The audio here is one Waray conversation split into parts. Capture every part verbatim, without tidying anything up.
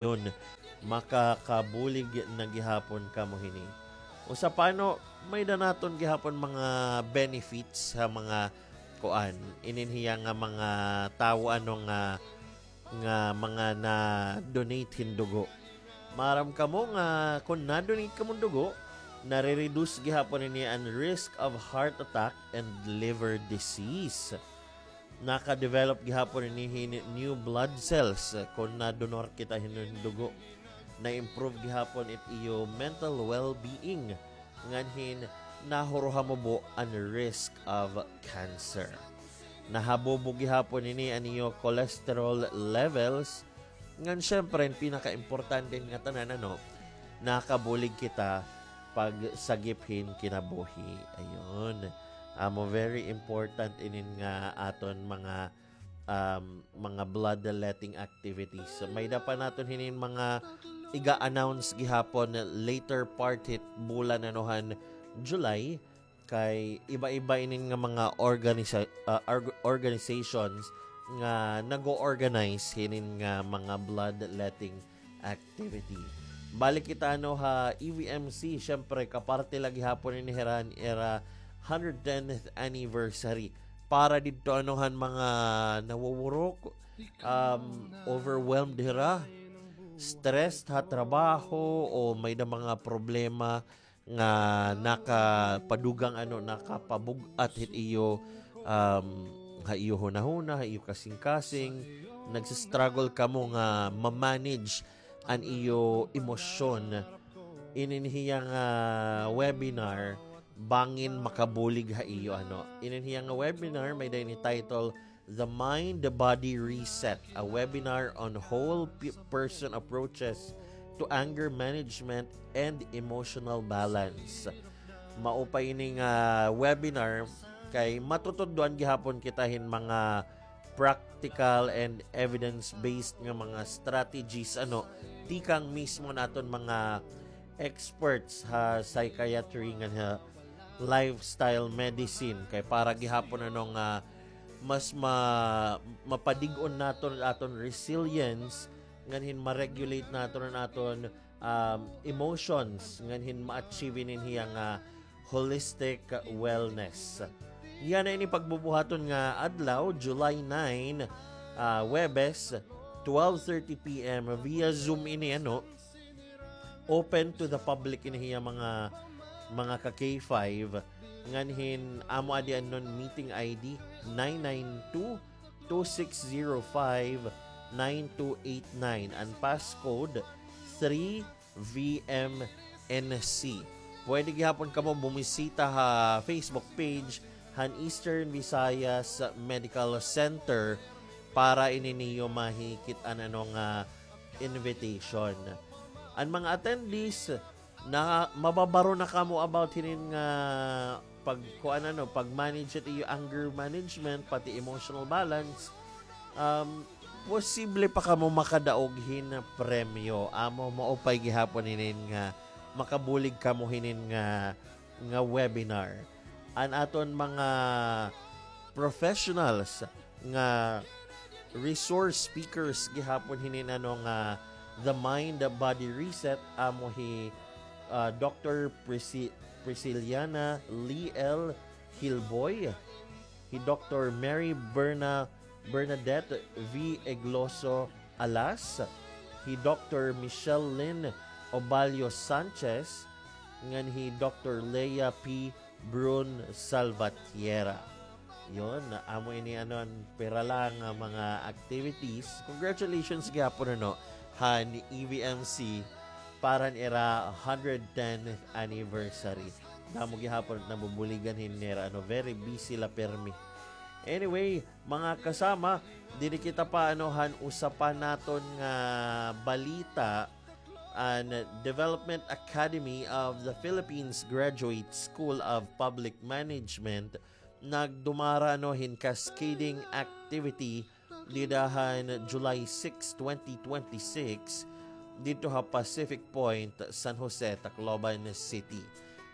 Yun, makakabulig na gihapon kamo hini. Usa pa, no, may-ada naton gihapon mga benefits ha mga kuan. Inin hiya nga mga tawo, ano, nga, nga mga na-donate hin dugo. Maaram kamo nga kon na-donate kamo hin dugo, nare-reduce gihapon ini an risk of heart attack and liver disease. Naka-develop gihapon ini hin new blood cells, eh, kon na-donor kita hin dugo. Na-improve gihapon it iyo mental well-being, ngan hin nahuruha mubo an risk of cancer. Nahabubo gihapon ini an iyo cholesterol levels, ngan syempre, an pinakaimportante nga tanan, ano, nakabulig kita pagsagip hin kinabuhi. Ayun. Amo, very important inin nga aton mga, um, mga bloodletting activities. So, may-ada pa naton hinin mga iga-announce gihapon later part hit bulan, ano, han July, kay iba-iba inin nga mga organisa-, ah, org-, organizations nga nag-o-organize hinin nga mga bloodletting activity. Balik kita, ano, ha E V M C, syempre, kaparte la gihapon ini hira han ira hundred tenth anniversary. Para didto, ano, han mga nawuwurok, um, overwhelmed hira, stressed ha trabaho, o may-ada mga problema nga nakapadugang, ano, nakapabug-at hit iyo, um, ha iyo hunahuna, ha iyo kasingkasing, nagsistruggle kamo nga ma-manage an iyo emosyon. Inin hiya nga webinar, bangin makabulig ha iyo, ano. Inin hiya nga webinar, may-ada ini title, The Mind Body Reset, a webinar on whole pe-, person approaches to anger management and emotional balance. Maupay ini nga webinar kay matutudloan gihapon kita hin mga practical and evidence-based nga mga strategies, ano, tikang mismo naton mga experts ha psychiatry ngan ha lifestyle medicine, kay para gihapon, ano, nga mas ma-, mapadig-on naton aton resilience, ngan hin ma-regulate naton an aton, um, emotions, ngan hin ma-achieve inin hiya nga holistic wellness. Yana ini pagbubuhaton nga adlaw, July nine, ah, Huwebes, twelve thirty P M, via Zoom ini, ano, open to the public ini hiya mga, mga ka K five. Ngan hin amo adi an meeting I D, nine nine two, two six zero five, nine two eight nine. An passcode, three V M N C. Pwede gihapon kamo bumisita ha Facebook page han Eastern Visayas Medical Center para ini niyo mahikit-an, ano, nga invitation. An mga attendees, na, mababaro na kamo about hinin nga pagkuan, ano, pag-manage it iyo anger management, pati emotional balance. Um, posible pa kamo makadaog hin premyo. Amo, maupay gihapon hinin nga makabulig kamo hinin nga, nga webinar. An aton mga professionals nga resource speakers gihapon hinin, ano, nga The Mind Body Reset, amo hi, ah, Doctor Prisi-, Prisciliana Lee L Hilboy, hi Doctor Mary Berna-, Bernadette V Egloso Alas, hi Doctor Michelle Lynn Obalio Sanchez, ngan hi Doctor Lea P Brun Salvatierra. Yon, amo ini, ano, an pira la nga mga activities. Congratulations gihapon, ano, han E V M C para han ira hundred tenth anniversary. Damo gihapon nabubuligan hin nira, ano, very busy la permi. Anyway, mga kasama, diri kita pa, ano, han usa pa naton nga balita. An Development Academy of the Philippines Graduate School of Public Management nagdumara, ano, hin cascading activity dida han July six, twenty twenty-six, didto ha Pacific Point, San Jose, Tacloban City.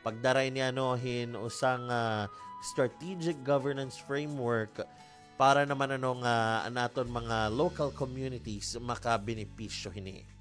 Pagdara ini, ano, hin usa nga strategic governance framework para naman, ano, nga an aton mga local communities makabenepisyo hini.